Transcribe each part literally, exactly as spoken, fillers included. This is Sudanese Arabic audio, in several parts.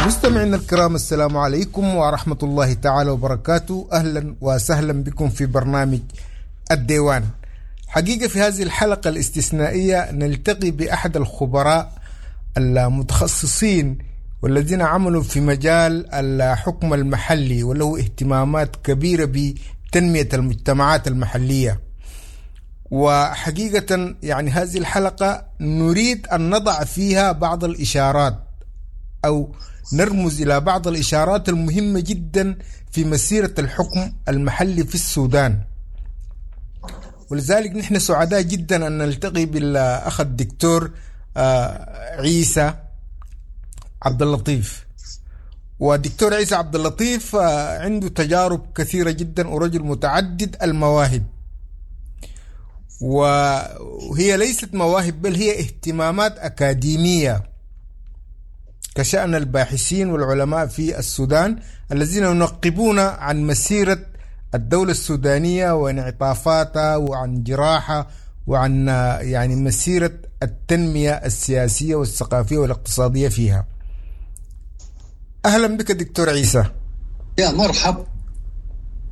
مستمعينا الكرام، السلام عليكم ورحمة الله تعالى وبركاته. أهلا وسهلا بكم في برنامج الديوان. حقيقة في هذه الحلقة الاستثنائية نلتقي بأحد الخبراء المتخصصين والذين عملوا في مجال الحكم المحلي وله اهتمامات كبيرة بتنمية المجتمعات المحلية. وحقيقة يعني هذه الحلقة نريد أن نضع فيها بعض الإشارات أو نرمز إلى بعض الإشارات المهمة جدا في مسيرة الحكم المحلي في السودان. ولذلك نحن سعداء جدا أن نلتقي بالأخ الدكتور عيسى عبد اللطيف. والدكتور عيسى عبد اللطيف عنده تجارب كثيرة جدا ورجل متعدد المواهب، وهي ليست مواهب بل هي اهتمامات أكاديمية كشأن الباحثين والعلماء في السودان الذين ينقبون عن مسيرة الدولة السودانية وانعطافاتها وعن جراحة وعن يعني مسيرة التنمية السياسية والثقافية والاقتصادية فيها. أهلا بك دكتور عيسى. يا مرحب،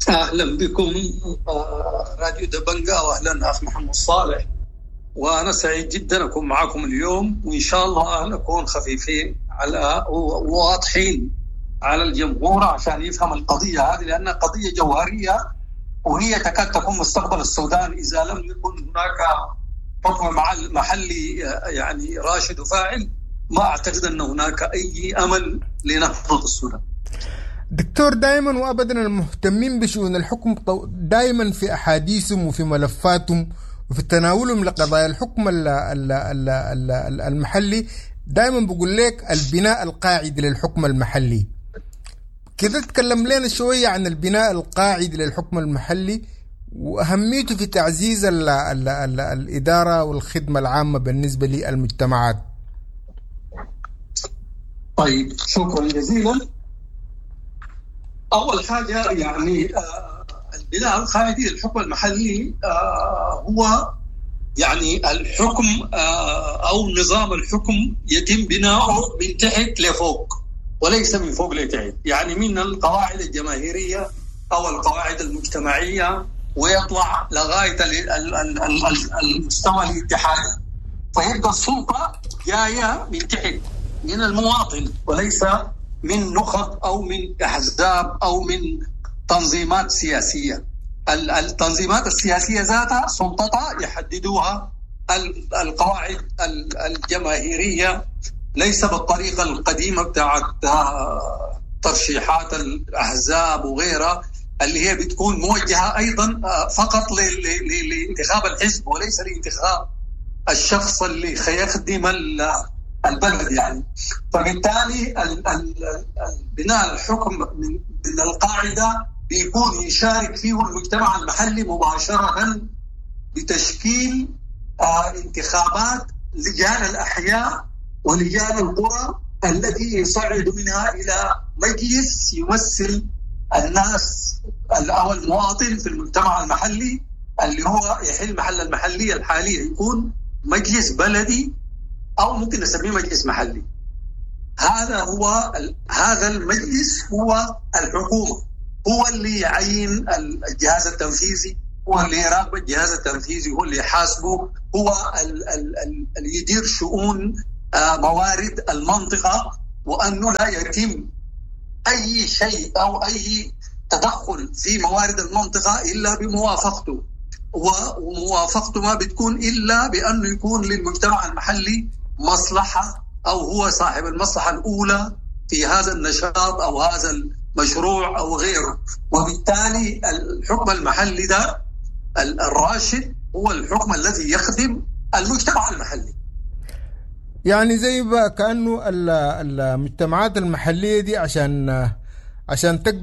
أهلا بكم راديو دبنجا، وأهلا أخ محمد صالح. وأنا سعيد جدا أكون معكم اليوم، وإن شاء الله نكون خفيفين على وواضحين على الجمهور عشان يفهم القضية هذه، لأنها قضية جوهرية وهي تكاد تكون مستقبل السودان إذا لم يكن هناك حكم محلي يعني راشد وفاعل. ما أعتقد أن هناك أي أمل لنهضة السودان. دكتور، دائما وأبدا المهتمين بشؤون الحكم دائما في أحاديثهم وفي ملفاتهم وفي تناولهم لقضايا الحكم المحلي دائما بقول لك البناء القاعدي للحكم المحلي. كده تكلم لنا شوية عن البناء القاعدي للحكم المحلي وأهميته في تعزيز ال ال ال الإدارة والخدمة العامة بالنسبة للمجتمعات. طيب، شكرا جزيلا. أول حاجة يعني البناء القاعدي للحكم المحلي هو يعني الحكم أو نظام الحكم يتم بناؤه من تحت لفوق وليس من فوق لتحت، يعني من القواعد الجماهيرية أو القواعد المجتمعية ويطلع لغاية المستوى الاتحادي. فيبقى السلطة جاية من تحت من المواطن وليس من نخب أو من أحزاب أو من تنظيمات سياسية. التنظيمات السياسية ذاتها سلطتها يحددوها القواعد الجماهيرية، ليس بالطريقة القديمة بتاعت ترشيحات الأحزاب وغيرها اللي هي بتكون موجهة أيضا فقط لانتخاب الحزب وليس لانتخاب الشخص اللي خيخدم البلد يعني. فبالتالي بناء الحكم من القاعدة بيكون يشارك فيه المجتمع المحلي مباشرة بتشكيل انتخابات لجان الأحياء ولجان القرى التي يصعد منها إلى مجلس يمثل الناس أو المواطن في المجتمع المحلي اللي هو يحل محل المحلية الحالية، يكون مجلس بلدي أو ممكن نسميه مجلس محلي. هذا هو هذا المجلس هو الحكومة، هو اللي يعين الجهاز التنفيذي، هو اللي يراقب الجهاز التنفيذي، هو اللي يحاسبه، هو اللي يدير شؤون موارد المنطقة، وأنه لا يتم أي شيء أو أي تدخل في موارد المنطقة إلا بموافقته، وموافقته ما بتكون إلا بأنه يكون للمجتمع المحلي مصلحة أو هو صاحب المصلحة الأولى في هذا النشاط أو هذا المشروع أو غيره. وبالتالي الحكم المحلي ده الراشد هو الحكم الذي يخدم المجتمع المحلي. يعني زي كأنه المجتمعات المحلية دي عشان عشان تقدر